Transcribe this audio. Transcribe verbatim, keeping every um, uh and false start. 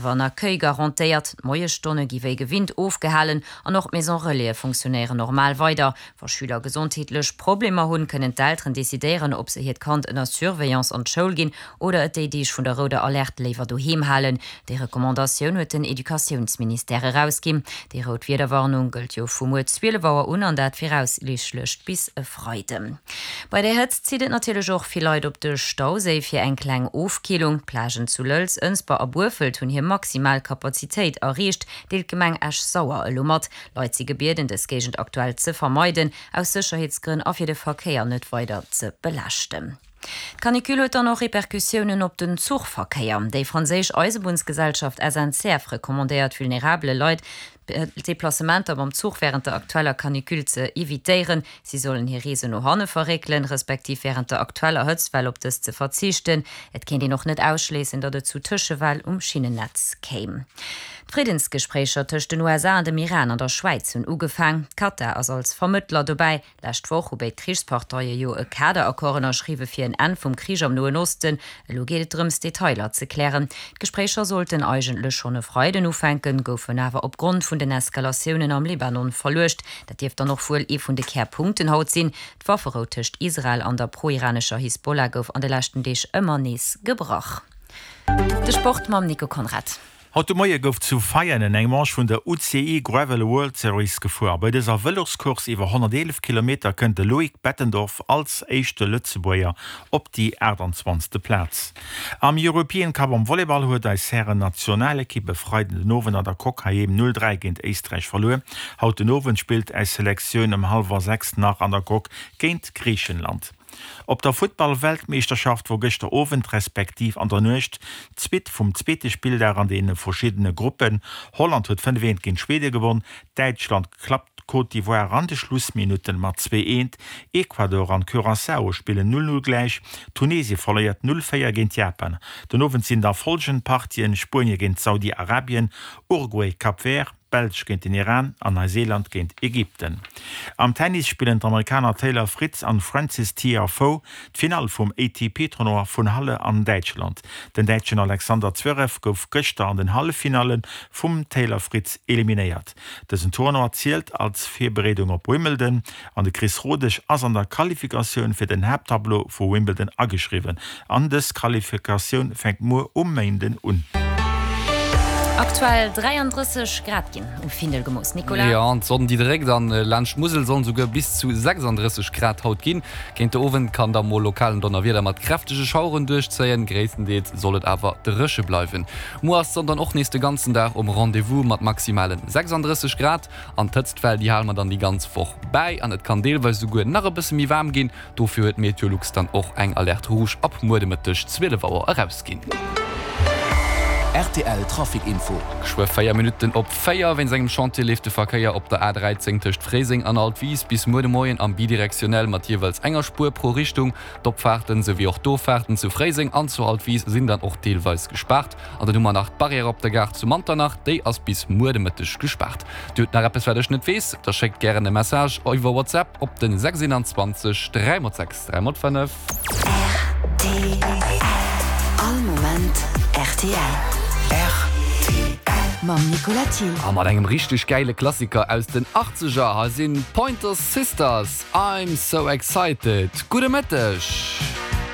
awer en Accueil garantéiert. D'Moiesstonne gi wéi gewinnt ofgehalen an och d'Maison Relaise funktionéieren normal weider. Wa Schüler gesondheetlech Problemer hunn, kënnen d'Elteren decidéieren, ob se hiert Kand ënner Surveillance an d'Schoul ginn oder et déi Deeg vun der rouder Alerte léiwer doheem halen. Déi Recommandatioun huet den Educatiounsministère erausginn. Déi rout Wiederwarnung gëllt jo vu muer zwielef Auer un an dat viraussiichtlech bis e Freiden. Bei der Hëtzt zitt et natierlech och vill Leit op de Stauséi fir eng kleng Ofkillung. D'Plagen zu Lëlz, Ënsber a Burfelt hunn hir maximal Kapazitéit erreecht, deelt d'Gemeng Esch-Sauer elo mat. Leit si gebieden, dës Géigend aktuell ze vermeiden, aus Sécherheetsgrënn a fir de Verkéier net weider ze belaaschten. D'Canicule huet dann och Repercussiounen op den Zuchverkéier. Déi franséisch Eisebunnsgesellschaft S N C F recommandéiert vulnerabele Leit, Deplacementer mam Zuch wärend der aktueller Canicule ze evitéieren. Si sollen hir Reesen no hanne verréckelen, respektiv wärend der aktueller Hëtztwell op dës ze verzichten. Et kéint een och net ausschléissen, datt et zu Tëschefäll um Schinnennetz kéim. D'Friddensgespréicher tëscht den U S A an dem Iran an der Schwäiz hunn ugefaang. Katar ass als Vermëttler dobäi. Lescht Woch hu béid Krichsparteie jo e Kaderaccord ënnerschriwwe fir en Enn vum Krich am Noen Osten. Elo geet et drëms, Detailer ze klären. D'Gespréicher sollten eigentlech schonn e Freiden ufänken, goufen awer opgrond vun den Eskalatiounen am Libanon verluecht. Dat dierft dann och wuel ee vun de Kärpunkten haut sinn. D'Wafferou tëscht Israel an der pro-iranescher Hisbollah gouf an de leschten Deeg ëmmer nees gebrach. De Sport mam Nico Conrad. Haut de Moie gouf zu Veianen eng Manche vun der U C I Gravel World Series gefuer. Bei dëser Vëloscourse iwwer honnerteelef Kilometer kënnt de Loïc Bettendorf als éischte Lëtzebuerger op déi aachtanzwanzegste. Plaz. Am European Cup am Volleyball huet eis Hären-Nationalekipp e Freiden den Owend an der Coque heiheem null dräi géint Éisträich verluer. Haut den Owend spillt eis Selektioun ëm hallwer sechs nach an der Coque géint Griichenland. Op der Futtball-Weltmeeschterschaft wor gëschter Owend respektiv an der Nuecht d'Suite vum zweete Spilldag an deene verschiddene Gruppen. Holland huet fënnef eent géint Schwede gewonn, Däitschland klappt d'Côte d'Ivoire an de Schlussminutte mat zwee eent, Ecuador an Curaçao spillen null null gläich, Tunesie verléiert null véier géint Japan. Den Owend sinn da follgend Partien, Spuenie géint Saudi-Arabien, Uruguay, Cap Vert, Belsch géint den Iran an Neuseeland géint Ägypten. Am Tennis spillen d'Amerikaner Taylor Fritz an Frances Tiafoe d'Finall vum A T P-Tournoi vun Halle an Däitschland. Den Däitschen Alexander Zverev gouf gëschter an den Halleffinalle vum Taylor Fritz eliminéiert. Dësen Tournoi zielt als Virbereedung op Wimbledon an de Chris Rodesch ass an der Qualifikatioun fir den Haapttableau vu Wimbledon ageschriwwen. An dës Qualifikatioun fänkt muer um Méinden un. Aktuell dräiandrësseg Grad ginn um Findel gemooss, Nicolas. Jo, an d'Sonn déi dréckt an laanscht d'Musel sollen souguer bis zu sechsandrësseg Grad haut ginn. Géint de Owend kann da mol lokal en Donnerwieder mat kräftege Schaueren duerchzéien, gréisstendeels soll et awer dréche bleiwen. Muer ass d'Sonn dann och nees de ganzen Dag um Rendez-vous mat maximale sechsandrësseg Grad. An d'Hëtztwell déi hale mer dann déi ganz Woch bäi an et kann deelweis souguer nach e bësse méi waarm ginn. Dofir huet Meteolux dann och eng Alerte rouge ab muer de Mëtteg zwielef Auer erausginn. R T L Trafic Info. Geschwë véier Minutten op véier. Wéinst engem Chantier leeft de Verkéier op der A dräizéng tëscht Fréiseng an Altwis bis muer de Moien am bidirektionell mat jeeweils enger Spuer pro Richtung. D'Opfaarten souwéi och d'Offaarten zu Fréiseng an zu Altwis sinn dann och deelweis gespaart. An dann hu mer nach d'Barrière op der Gare zu Manternach, déi ass bis muer de Mëtteg gespaart. Dir hutt nach eppes wat ech net weess? Da schéckt gären e Message iwwer WhatsApp op den sechs een dräi mol sechs dräi mol fënnef. R T L. All Moment R T L. R T L. Mam Nicolas Thiel. A mat engem richteg gäile Klassiker aus den Achtzeger, hei sinn Pointer Sisters, I'm So Excited. Gudde Mëtteg!